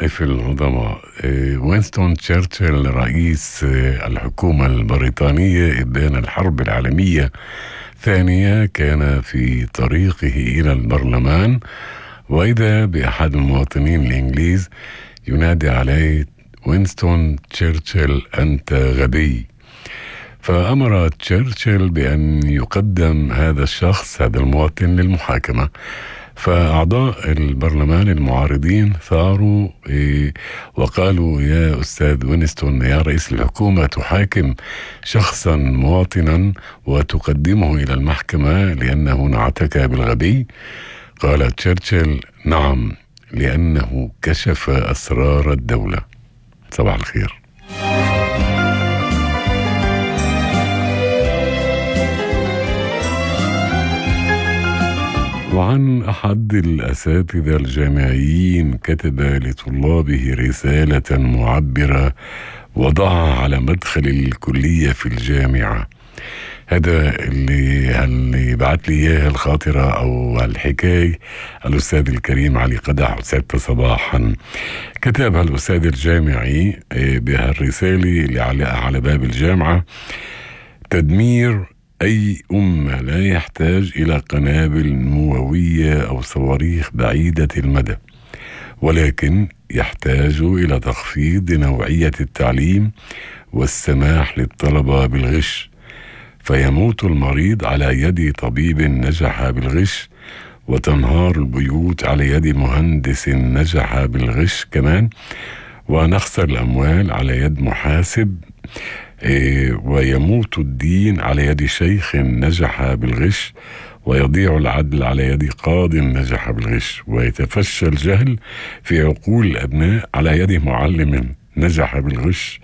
الطوائف العظماء. وينستون تشرشل رئيس الحكومة البريطانية إبان الحرب العالمية الثانية كان في طريقه إلى البرلمان، وإذا بأحد المواطنين الإنجليز ينادي عليه: وينستون تشرشل أنت غبي. فأمر تشرشل بأن يقدم هذا الشخص، هذا المواطن، للمحاكمة. فأعضاء البرلمان المعارضين ثاروا وقالوا: يا أستاذ وينستون، يا رئيس الحكومة، تحاكم شخصا مواطنا وتقدمه إلى المحكمة لأنه نعتك بالغبي؟ قال تشرشل: نعم، لأنه كشف أسرار الدولة. صباح الخير. وعن أحد الأساتذة الجامعيين كتب لطلابه رسالة معبرة وضعها على مدخل الكلية في الجامعة. هذا اللي بعت لي إياه الخاطرة أو الحكاية الأستاذ الكريم علي قدح، أستاذ صباحا. كتبها الأستاذ الجامعي بهالرسالة اللي على باب الجامعة: تدمير أي أمة لا يحتاج إلى قنابل نووية أو صواريخ بعيدة المدى، ولكن يحتاج إلى تخفيض نوعية التعليم والسماح للطلبة بالغش، فيموت المريض على يد طبيب نجح بالغش، وتنهار البيوت على يد مهندس نجح بالغش كمان، ونخسر الأموال على يد محاسب، ويموت الدين على يد شيخ نجح بالغش، ويضيع العدل على يد قاض نجح بالغش، ويتفشى الجهل في عقول الأبناء على يد معلم نجح بالغش،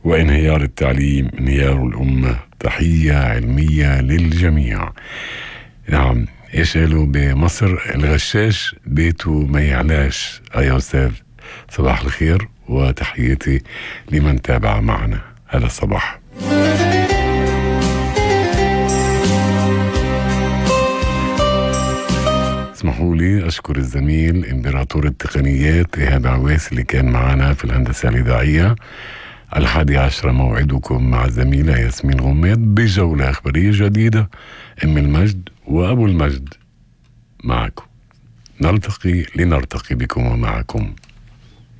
وانهيار التعليم انهيار الأمة. تحية علمية للجميع. نعم، ايش قالوا بمصر؟ الغشاش بيته ما يعلاش. يا أستاذ، صباح الخير وتحياتي لمن تابع معنا هذا الصباح. اسمحوا لي أشكر الزميل إمبراطور التقنيات إيهاب عويس اللي كان معنا في الهندسة الإذاعية. 11 موعدكم مع الزميلة ياسمين غميد بجولة أخبارية جديدة. أم المجد وأبو المجد معكم، نلتقي لنرتقي بكم ومعكم.